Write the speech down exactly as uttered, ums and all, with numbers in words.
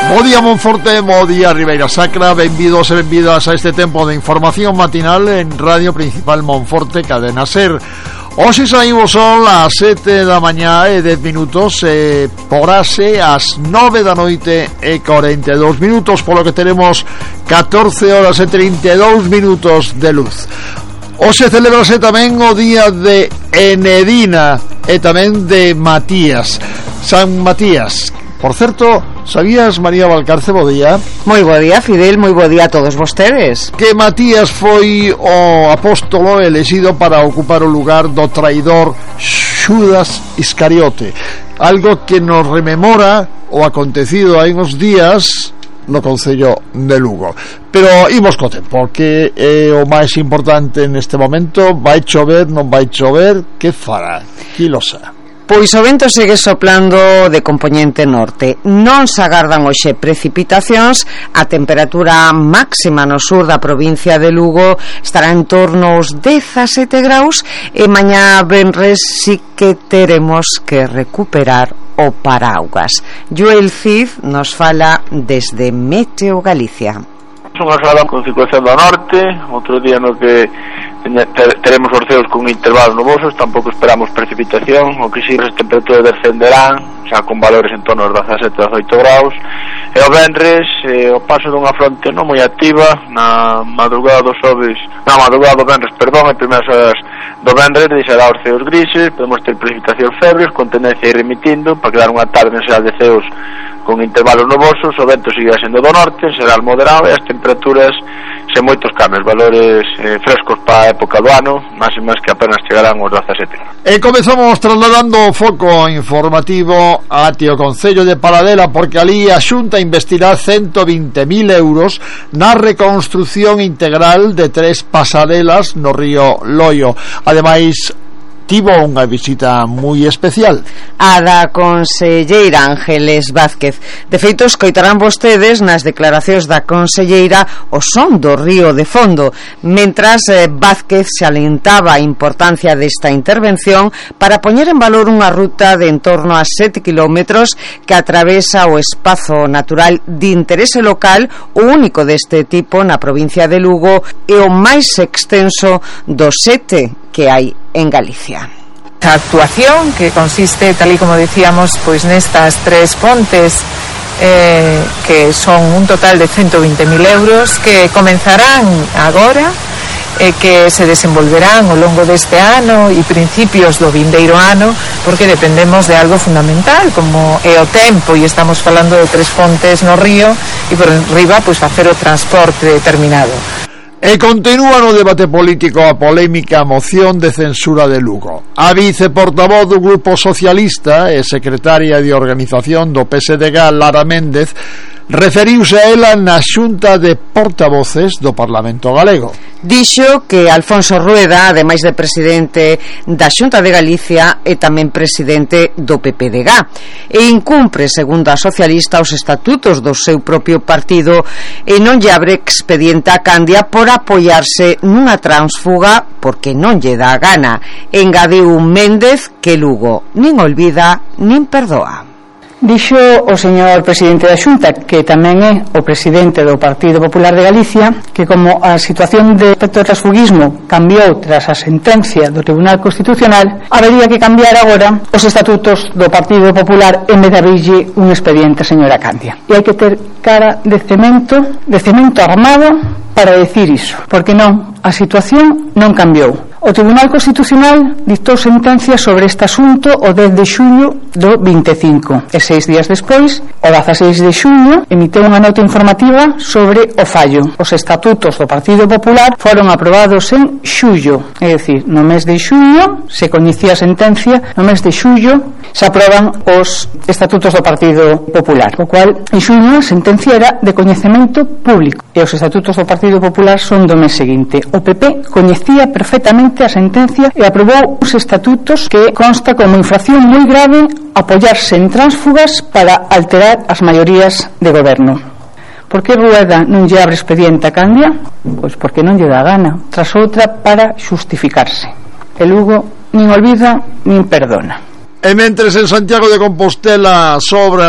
Bo día Monforte, bo día Ribeira Sacra, benvidos e benvidas a este tempo de información matinal en Radio Principal Monforte, Cadena Ser. Hoxe saímos son as sete da mañá e dez minutos e porase as nove da noite e cuarenta e dous minutos, polo que teremos catorce horas e trinta e dous minutos de luz. Hoxe celebrase tamén o día de Enedina e tamén de Matías, San Matías. Por certo, sabías, María Valcarce, bo día? Moi bo día, Fidel, moi bo día a todos vostedes. Que Matías foi o apóstolo elexido para ocupar o lugar do traidor Xudas Iscariote, algo que nos rememora o acontecido hai uns días no Concello de Lugo. Pero imos co tempo, que é o máis importante neste momento. Vai chover, non vai chover, que fará? Qui lo sa? Pois o vento segue soplando de compoñente norte. Non se agardan hoxe precipitacións. A temperatura máxima no sur da provincia de Lugo estará en torno aos dezasete graus e mañá venres si que teremos que recuperar o paraugas. Joel Cid nos fala desde Meteo Galicia. Unha xornada con circulación do norte, outro día no que teremos os ceos con intervalos nubosos, tampouco esperamos precipitación, o que si as temperaturas descenderán, xa con valores en torno aos dezasete a dezoito graus, e o venres, eh, o paso dunha fronte non moi activa, na madrugada do xoves, na madrugada do venres, perdón, en primeiras horas do venres, deixará os ceos grises, podemos ter precipitacións febles, con tendencia a ir remitindo, para quedar unha tarde en xeral de ceos con intervalos nubosos, o vento seguirá sendo do norte, será moderado e as temperaturas sen moitos cambios, valores eh, frescos para a época do ano, máximas que apenas chegarán aos dezasete. E comezamos trasladando o foco informativo a Tio Concello de Paradela, porque ali a Xunta investirá ciento veinte mil euros na reconstrucción integral de tres pasarelas no río Loio. Ademais, tivo unha visita moi especial, a da conselleira Ángeles Vázquez. De feito, escoitarán vostedes nas declaracións da conselleira o son do río de fondo, mentras eh, Vázquez se alentaba a importancia desta intervención para poñer en valor unha ruta de en torno a sete kilómetros que atravesa o espazo natural de interese local, o único deste tipo na provincia de Lugo e o máis extenso dos sete que hai en Galicia. Esta actuación, que consiste, tal y como decíamos, pues nestas tres pontes eh, que son un total de ciento veinte mil euros, que comenzarán agora, eh, que se desenvolverán ao longo deste ano e principios do vindeiro ano, porque dependemos de algo fundamental como é o tempo, e estamos falando de tres pontes no río e por enriba pues facer o transporte determinado. E continúa no debate político a polémica moción de censura de Lugo. A viceportavoz do Grupo Socialista e secretaria de organización do P S D G, Lara Méndez, referiuse a ela na xunta de portavoces do Parlamento Galego. Dixo que Alfonso Rueda, ademais de presidente da Xunta de Galicia, é tamén presidente do P P D G e incumpre, segundo a socialista, os estatutos do seu propio partido e non lle abre expediente a Candia por apoiarse nunha transfuga porque non lle dá gana. Engadiu Méndez que Lugo nin olvida nin perdoa. Dixo o señor presidente da Xunta, que tamén é o presidente do Partido Popular de Galicia, que como a situación de respecto ao transfugismo cambiou tras a sentencia do Tribunal Constitucional, habería que cambiar agora os estatutos do Partido Popular en vez de abrirlle un expediente a señora Candia. E hai que ter cara de cemento, de cemento armado para decir iso, porque non, a situación non cambiou. O Tribunal Constitucional dictou sentencia sobre este asunto o dez de xullo do vinte e cinco e seis días despois, o dezaseis de xullo, emitiu unha nota informativa sobre o fallo. Os estatutos do Partido Popular foron aprobados en xullo, é dicir, no mes de xullo se coñecía a sentencia, no mes de xullo se aproban os estatutos do Partido Popular, o cual en xullo a sentencia era de coñecemento público e os estatutos do Partido Popular son do mes seguinte. O P P coñecía perfectamente a sentencia e aprobou os estatutos que consta como infracción moi grave apoiarse en tránsfugas para alterar as maiorías de goberno. Por que Rueda non lle abre expediente a Candia? Pois porque non lle dá gana, tras outra para xustificarse. E Lugo nin olvida nin perdona. E mentres en Santiago de Compostela sobra